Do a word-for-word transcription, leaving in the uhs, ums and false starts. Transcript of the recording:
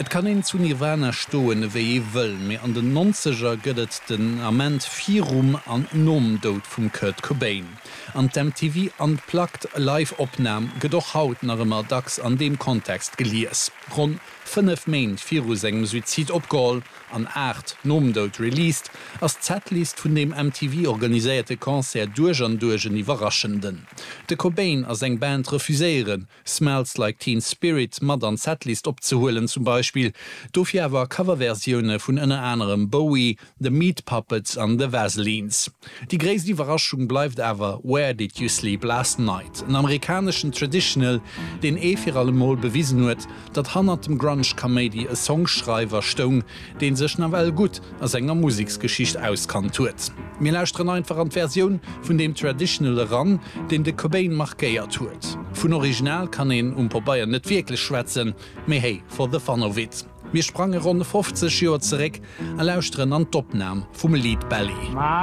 Et kann een zu Nirvana stoen, wéi ee wëll, mee an den Nonzeger gëtt et den Ament virum an nom Doud vum Kurt Cobain. An d'M T V Unplugged Live-Opnam gëtt och haut nach ëmmer dacks an deem Kontext gelies. Ronn fënnef Méint viru sengem Suizid opgeholl an aacht nom Doud released, ass d'Setlist vun deem M T V organiséierte Concert duerch an duerch en iwwerraschenden. De Cobain a seng Band refuséieren, Smells Like Teen Spirit mat an d'Setlist opzehuelen zum Beispill, dofir awer Coverversioune vun ënner anerem Bowie, The Meat Puppets an The Vaselines. Déi gréisst Iwwerraschung bleift awer Where Did You Sleep Last Night? En amerikaneschen Traditional, deen ee fir allemol bewisen huet, datt hannert dem Grunge-Kaméidi e Songschreiwer stoung, deen sech nawell gutt a senger Museksgeschicht auskannt huet. Mir lauschteren einfach an d'Versioun vun deem Traditional eran, deen de Cobain markéiert huet. Vun Original kann een um Pabeier net wierklech schwätzen, mee hey, for the fun of it. Mir sprange ronn fofzeg Joer zeréck a lauschteren an d'Opnam vum Lead Belly.